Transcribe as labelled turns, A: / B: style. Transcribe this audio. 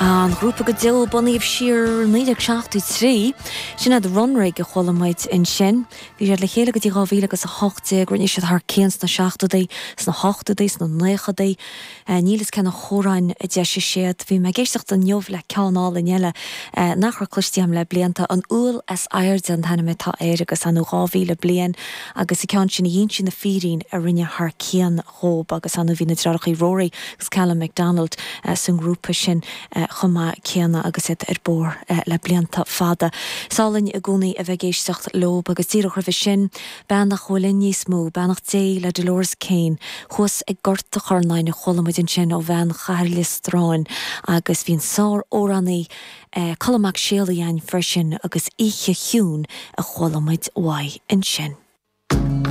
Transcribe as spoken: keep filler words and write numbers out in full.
A: An grúpa go deo bunaithe siar naoi déag seachtó trí, sin iad Runrig a chuala muid ansin. Bhí siad le chéile go dtí dhá mhíle agus a hocht déag, rinne siad thar cionn sna seachtóidí, sna hochtóidí, sna naochadaí. Níl fhios cé na hamhráin a d'eisigh siad. Bhí mé ag éisteacht inniu le ceann álainn eile nach raibh cloiste agam le blianta, An Úll is Airde an t-ainm atá air agus anú dhá mhíle bliain agus an ceann sin Dhínse na Fírín a rinne thar cionn dhób agus anú bhí na deartháireacha Rory agus Callum McDonald san ngrúpa sin chomh maith céanna agus iad ar bóthar le blianta fada. Is álainn i gcónaí a bheith ag éisteacht leob agus díreach roimhe sin, bean nach bhfuil linn níos mó, beannacht Dé le Dolores Kane, thuas ag Gort a' Chornáin a chuala muid ansin ó bhean Chathair Liostráin agus bhí an sár-amhránaí Colm Mac Séalaigh againn freisin agus Oíche Chiúin a chuala muid uaidh ansin.